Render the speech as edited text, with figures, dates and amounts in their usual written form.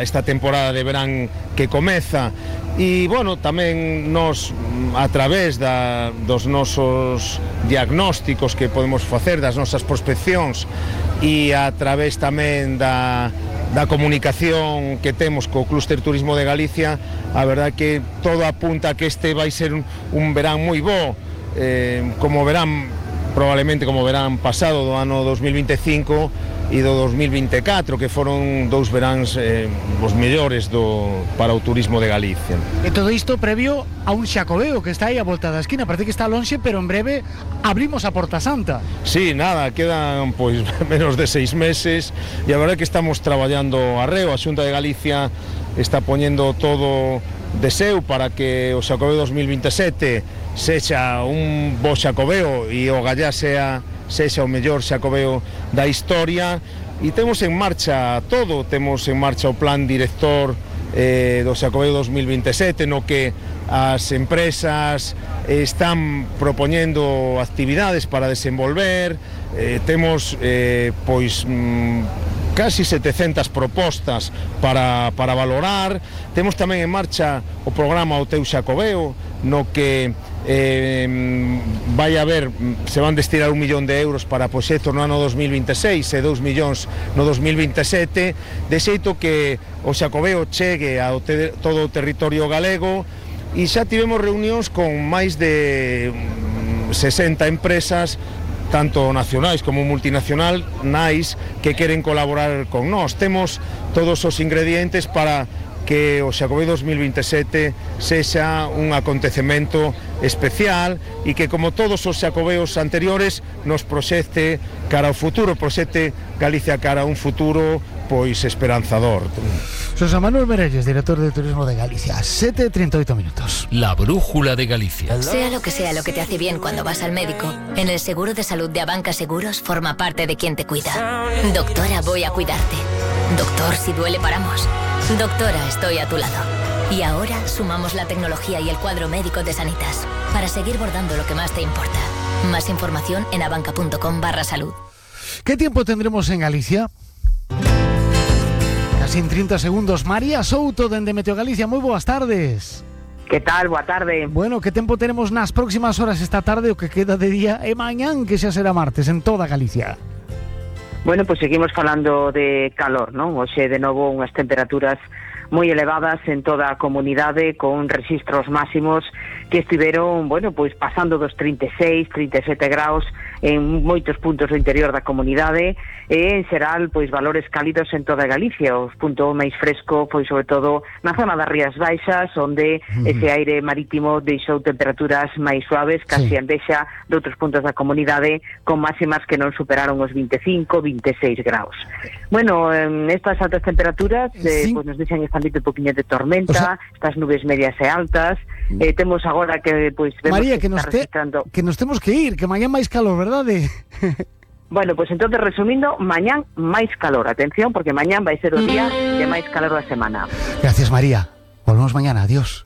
esta temporada de verán que comeza. E, bueno, tamén nos, a través dos nosos diagnósticos que podemos facer, das nosas prospeccións, e a través tamén da comunicación que temos co Clúster Turismo de Galicia, a verdad que todo apunta a que este vai ser un verán moi bo, probablemente como verán pasado do ano 2025 e do 2024, que foron dous veráns os mellores para o turismo de Galicia. E todo isto previo a un Xacobeo que está aí a volta da esquina, parece que está lonxe, pero en breve abrimos a Porta Santa. Sí, nada, quedan pois menos de 6 meses e a verdade que estamos traballando arreo. A Xunta de Galicia está poñendo todo de seu para que o Xacobeo 2027 sexa un bo Xacobeo e o Gallá sexa o mellor Xacobeo da historia, e temos en marcha todo, temos en marcha o plan director do Xacobeo 2027, no que as empresas están propoñendo actividades para desenvolver, temos casi 700 propostas para valorar. Temos tamén en marcha o programa O Teu Xacobeo, no que se van destinar 1 millón de euros para proxectos no ano 2026 e 2 millóns no 2027, de xeito que o Xacobeo chegue a todo o territorio galego. E xa tivemos reunións con máis de 60 empresas, tanto nacionais como multinacionais, que queren colaborar con nós. Temos todos os ingredientes para que o Xacobeo 2027 sexa un acontecemento especial e que, como todos os Xacobeos anteriores, nos proxecte cara ao futuro, proxecte Galicia cara a un futuro pois esperanzador. José Manuel Merelles, director de Turismo de Galicia. 7:38 minutos. La brújula de Galicia. Sea lo que te hace bien cuando vas al médico, en el seguro de salud de Abanca Seguros forma parte de quien te cuida. Doctora, voy a cuidarte. Doctor, si duele paramos. Doctora, estoy a tu lado. Y ahora sumamos la tecnología y el cuadro médico de Sanitas para seguir bordando lo que más te importa. Más información en abanca.com/salud. ¿Qué tiempo tendremos en Galicia? Casi en 30 segundos. María Souto, dende Meteo Galicia, moi boas tardes. Que tal? Boa tarde. Bueno, que tempo tenemos nas próximas horas esta tarde, o que queda de día, e mañán, que xa será martes, en toda Galicia? Bueno, pues seguimos falando de calor, non? Hoxe, de novo, unhas temperaturas moi elevadas en toda a comunidade, con rexistros máximos que estiveron, bueno, pois pasando dos 36, 37 graus en moitos puntos do interior da comunidade, e en xeral, pois valores cálidos en toda Galicia. O punto máis fresco foi sobre todo na zona das Rías Baixas, onde ese aire marítimo deixou temperaturas máis suaves, casi a envexa de outros puntos da comunidade, con máximas que non superaron os 25, 26 graus. Bueno, estas altas temperaturas pois nos deixan este ámbito un poquinho de tormenta, estas nubes medias e altas. Temos agora que pois vemos María, que nos temos que ir, que mañán máis calor, verdade? Bueno, pues entonces, resumindo, mañán máis calor. Atención, porque mañán vai ser o día de máis calor da semana. Gracias, María. Volvemos mañana. Adiós.